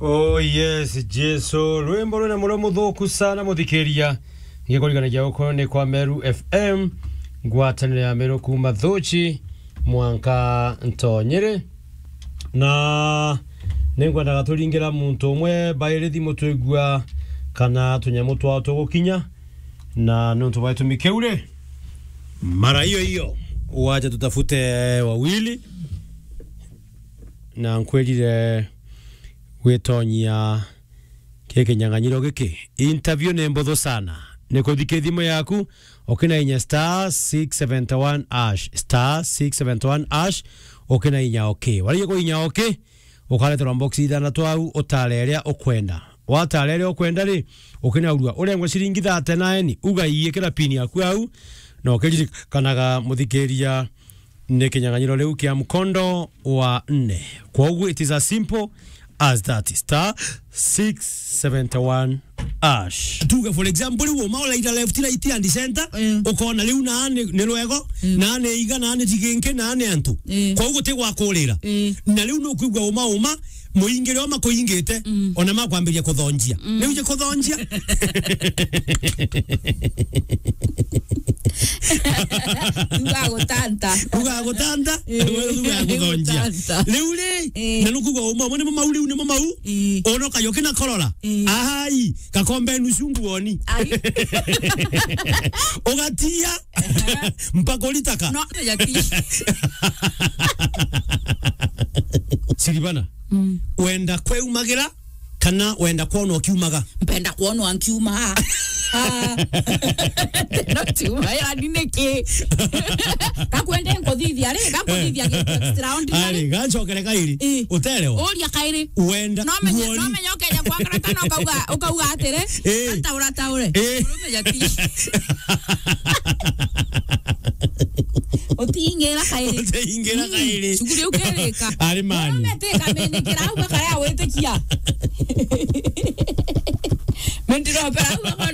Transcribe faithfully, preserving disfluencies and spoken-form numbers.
Oh yes, Jesu. Rwimbo rwina murio muthuku sana, muthikiria. Ngikuriganagia uko ni kwa Meru F M, ngwataniro ya Meru kuuma Thuchi, mwanka Ntonyere. Na ningwendaga turingira muntu umwe bairi thimu twigua kana tunyamu twao tugukinya, na nontu bwa gitumi kiu ri, mara hiyo hiyo, wacha tutafute wawili, na nkwirire gwitonyia ki kinyang'anyiro giki. Interview ni mbuthu sana. Ni kuthika thimu yaku, ukina inya star six seventy one hash, star six seventy one hash, ukina inya okay. Warikia kuinya okay, ukareterwa box ithanthatu au, utare iria ukwenda. Watara iria ukwenda ri, ukinaurua urengwe ciringi thirty na eni, ugaiikira pin yaku au, na ukiririkanaga, muthikiria, ni kinyang'anyiro riu kia mkondo wa nne. Kwoguo, it is as simple as that. Star six seventy one hash. Tuge, for example, riu uma uraira left, right and center, mm, ukona riu na ni, ni rwego, mm, na ni iga, na ni jiginki, na ni antu. Mm. Kwoguo guti gwa kurira. Mm. Na riu nukwigua uma uma, muingire o makuingite, mm, ona makwambiria kuthonjia. Mm. Riu je kuthonjia. Tuga gutanta. Tuga gutanta. Eh. Tuga guthonjia. Gutanta. Riu ri, eh, na nukuga uma, uma nimo mau, riu nimo mau. Eh. Ona ukayoke na korora. Eh. Ai, kakombe nusu nguoni. Ai. Ugatia. Mpaka uritaka. No, ya ti. Siribana. Mm. Wenda kweumagira kana wenda kwonwa ukiumaga? Mpenda kwonwa nkiuma. Ah. No tiuma, yani niki? Kakwende nkuthithia ri, kakuthithia, eh, extraordinary. Ari, gacokere kairi. Eh. Uterewa. Uria kairi. Wenda no menye, nguoni. No menye ukeja kwangara kana ukauga, ukauga atiri, eh, ataura taure. Eh. Murume jati. Utingira kairi. Utingira kairi. Mm. Shughuli ukerika. Ari mani. Murume tika menyekera au bakaya witikia. Mendiro pera au